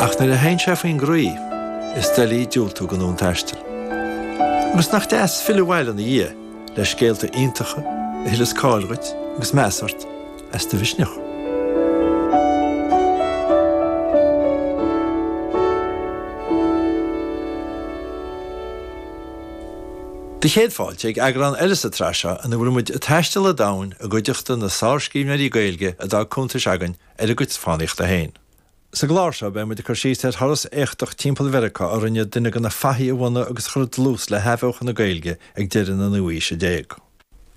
Ach nuair a théann sé faoin gcroí, is doiligh diúltú don fhonn taistil. Agus nach deas filleadh abhaile ina dhiaidh le scéalta iontacha a thuilleas cáil dhuit agus meas ort as do mhisneach. Do chéad fáilte ag eagrán eile sa tsraith seo ina bhfuil muid ag taisteal an domhain i gcuideachta na sárscríbhneoirí Gaeilge a d'fhág cuntais againn ar a gcuid fánaíochta féin. Sa gclár seo beidh muid ag cur síos ar thuras éachtach timpeall Mheiriceá a rinne duine de na fathaigh a bhunaigh agus a chuir dlús le hathbheochan na Gaeilge ag deireadh na naoú haoise déag.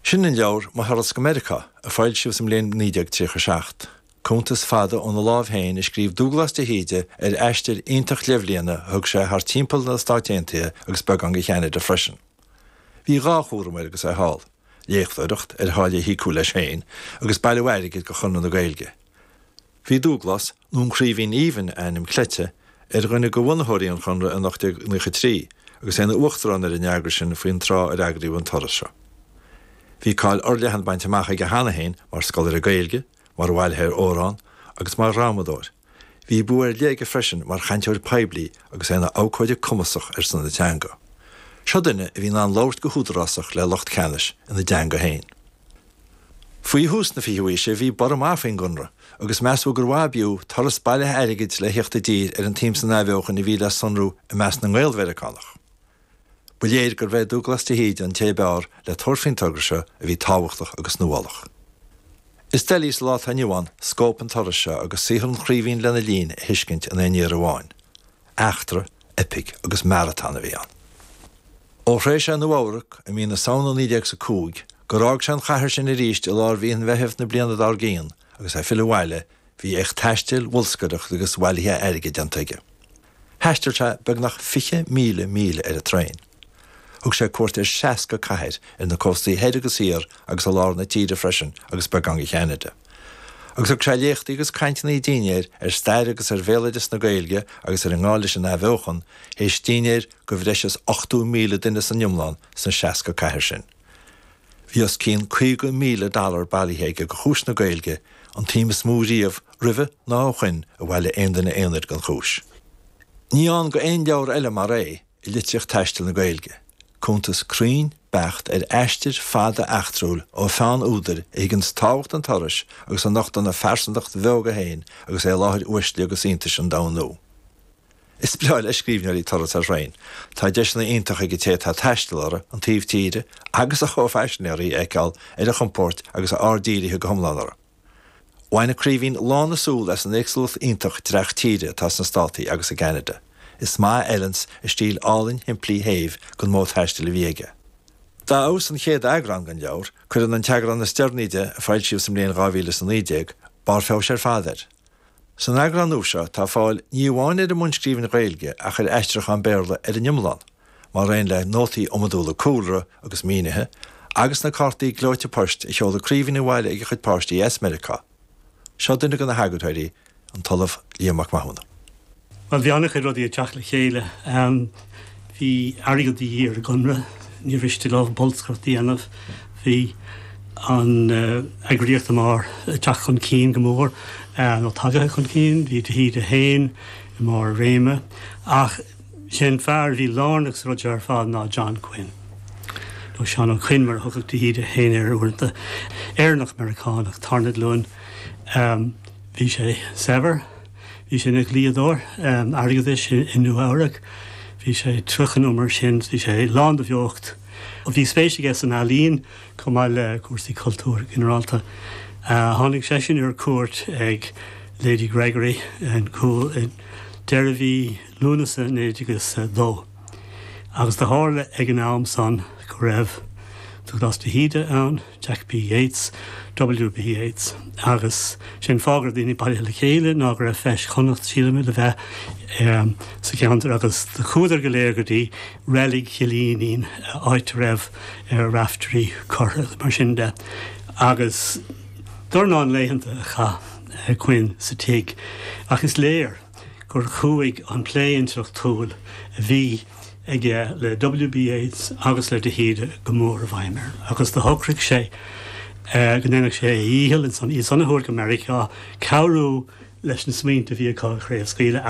Sin an leabhar Mo Thuras go Meiriceá, a foilsíodh sa mbliain 1937. Cuntas fada óna láimh féin a scríobh Dúglás de hÍde ar aistear iontach leathbhliana a thug sé thar timpeall na Stáit Aontaithe agus beagán de Cheanada freisin. Bhí dhá chúram air agus é thall, léachtóireacht, ar tháille a híocadh leis féin, agus bailiú airgid do Chonradh na Gaeilge. Bhí Dúglás, nó an Craoibhín Aoibhinn a ainm cleite, ar dhuine de bhunaitheoirí an Chonradh in 1893 agus é ina uachtarán ar an eagras sin faoin tráth ar eagraíodh an turas seo. Bhí cáil fhorleathan bainte amach aige cheana féin mar scoláire Gaeilge, mar bhailitheoir amhrán agus mar dhrámadóir. Bhí bua ar leith aige freisin mar chainteoir poiblí agus é ina abhcóide cumasach ar son na teanga. Seo duine a bhí in ann labhairt go húdarásach le lucht ceannais ina dteanga féin. Faoi thús na fichiú haoise bhí borradh maith faoin gConradh agus measadh gur mhaith ab fhiú turas bailithe airgid le theacht i dtír ar an tsuim san athbheochan a bhí le sonrú i measc na nGael-Mheiriceánach. Ba léir gurbh é Dúglas de hÍde an té ab fhearr le tabhairt faoin togra seo a bhí tábhachtach agus nuálach. Is doiligh sa lá atá inniu ann scóip an turais seo agus saothar an Chraoibhín lena linn a thuiscint in aon iarraidh amháin. Eachtra, eipic agus maratón a bhí ann. Ó shroich sé Nua Eabhrac i mí na Samhna 1905 gur fhág sé an chathair sin arís i lár mhí an Mheithimh na bliana dár gcionn agus é ag filleadh abhaile, bhí éacht taistil, bholscaireachta agus bhailithe airgid déanta aige. Thaistil sé beagnach 20,000 míle ar an traein. Thug sé cuairt ar 60 cathair ar na cóstaí thoir agus thiar agus i lár na tíre freisin agus beagán de Cheanada. Agus thug sé léachtaí agus cainteanna dinnéir ar stair agus ar bhéaloideas na Gaeilge agus ar an ngá leis an athbheochan, théis dinnéir do bhreis is 80,000 duine san iomlán sna 60 cathair sin. Bhí os cionn 50,000 dollar bailithe aige do chúis na Gaeilge, an tsuim is mó riamh roimhe ná ó shoin a bhailigh aon duine aonair don chúis. Ní ann do aon leabhar eile mar é i litríocht taistil na Gaeilge, cuntas cruinn beacht ar aistear fada eachtrúil ó pheann údair a thuigeanns tábhacht an turais agus a nochtann a phearsantacht bheoga féin agus é i láthair uaisle agus iontais an domhain nua. Is breá le scríbhneoirí turas ar thraein. Tá deiseanna iontacha ag an té atá ag taisteal orthu an taobh tíre agus a chomhphaisinéirí a fheiceáil ar a chompóirt agus a aird dírithe go hiomlán orthu. Bhain an Craoibhín lán a súl as an éagsúlacht iontach dreach tíre atá sna Státaí agus i gCeanada. Is maith a fheileanns a stíl álainn shimplí shéimh don mhodh taistil a bhí aige. Dá fheabhas an chéad eagrán den leabhar, cuireann an t-eagrán is deireanaí de, a foilsíodh sa mbliain 2019, barr feabhais ar fad air. San eagrán nua seo tá fáil ní amháin ar an mbunscríbhinn Ghaeilge ach ar aistriúchán Béarla ar an iomlán, mar aon le nótaí iomadúla cúlra agus mínithe, agus na cártaí gleoite poist a sheol an Craoibhín abhaile ag a chuid páistí as Meiriceá. Seo duine de na heagarthóirí, an tOllamh Liam Mac Mathúna. Bhuel, bhí an-chuid rudaí ag teacht le chéile. Bhí airgead de dhíth ar an gConradh, níor mhiste leo bolscaireacht a dhéanamh. Bhí an eagraíocht i mbarr ag teacht chun cinn go mór, nó tagaithe chun cinn. Bhí de hÍde féin i mbarr a réime. Ach sé an fear a bhí lárnach sa rud seo ar fad ná John Quinn, nó Seán Ó Coinn mar a thugadh de hÍde féin air uaireanta. Éireannach Meiriceánach, tarna glúin. Bhí sé saibhir. Bhí sé ina dhlíodóir airgeadais i Nua Eabhrac. Bhí sé 30 nó mar sin. Bhí sé lán de bheocht. Bhí spéis aige san ealaín chomh maith le cúrsaí cultúir ginearálta. Tháinig seisean ar cuairt ag Lady Gregory in Cúil i deireadh mhí Lúnasa 1902 agus do tharla ag an am san go raibh Dubhghlas de hÍde ann, Jack B. Yeats, W. B. Yeats, agus sé an fáth go raibh daoine bailithe le chéile ná go raibh Feis Chonnacht, sílim, le bheith sa cheantar agus do chuadar go léir go dtí Reilig Chill Fhínín, áit a raibh Raiftearaí curtha agus mar sin de. Agus dornán laethanta a chaith Quinn sa tigh ach is léir gur chuaigh an plé intleachtúil a bhí aige le W. B. Yeats agus le de hÍde go mór i bhfeidhm air agus do shocraigh sé go ndéanfadh sé a dhícheall ansan, iad san a thabhairt go Meiriceá, cabhrú leis na smaointe a bhí acu a chraobhscaoileadh.